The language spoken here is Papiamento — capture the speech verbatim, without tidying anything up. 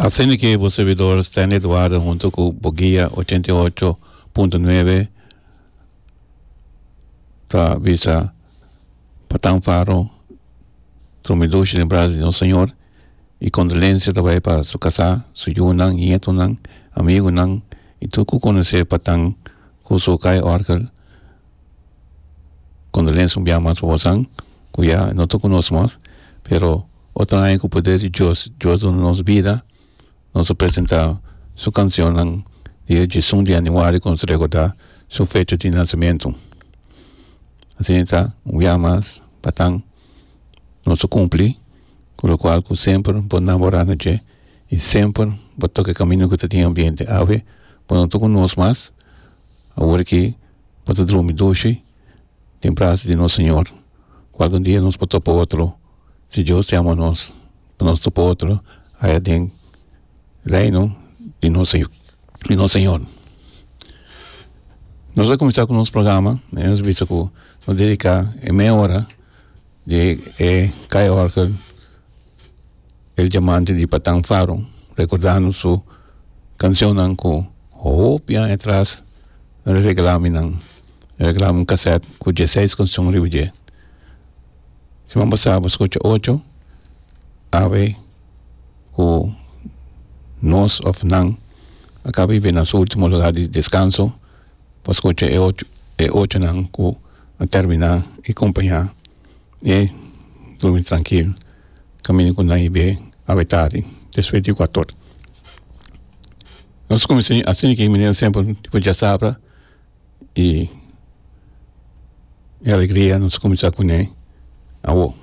Asina ku bo servidor Stanley Eduardo huntu ku Boguia ochenta i ocho punto nuebe ta bisa Patan Faro drumi dushi den brasa di nos Señor i kondolensia tambe pa su kasá, su yunan, ñetunan, amigunan i tur ku konosé Patan ku su ka'i òrgel. Kondolensia un biaha mas pa boso, ku ya no ta ku nos mas, pero otro aña, ku poder di Dios, Dios duna nos bida, nos ta presentá su kanshon dia diesun di yanüari, ku nos rekordá su fecha di nasementu. Asina ta, un biaha mas, Patan, nos a kumpli, ku loke ku semper bo namorá na dje, i semper bo toka kaminda ku tin ambiente. Awe, bo no ta ku nos mas, awor ku bo ta drumi dushi, den brasa di nos Señor. Kualke dia nos por topa otro, si Dios yama nos, nos topa otro, aya den reino di nos Señor. Di nos Señor. Nos ta bai kuminsá ku nos programa, ne? Nos a bisa ku nos ta dediká mei ora di e ka'i òrgel El Diamante di Patan Faro, rekordando su kanshon ku hopi aña atras regalá mi nan, regalá un cassette ku diesseis kanshon riba dje. Siman pasá a skucha ocho, awe ku nos òf nan a kaba di na su último lugá di deskanso, pa skucha e ocho, e ocho nan ku a terminá i kompañá e drumi trankil, kaminda ku nan a awe tardi, despues di kuater. Nos kuminsá asina ku manera semper, tipo djasabra i e alegria, nos kuminsá kuné awo.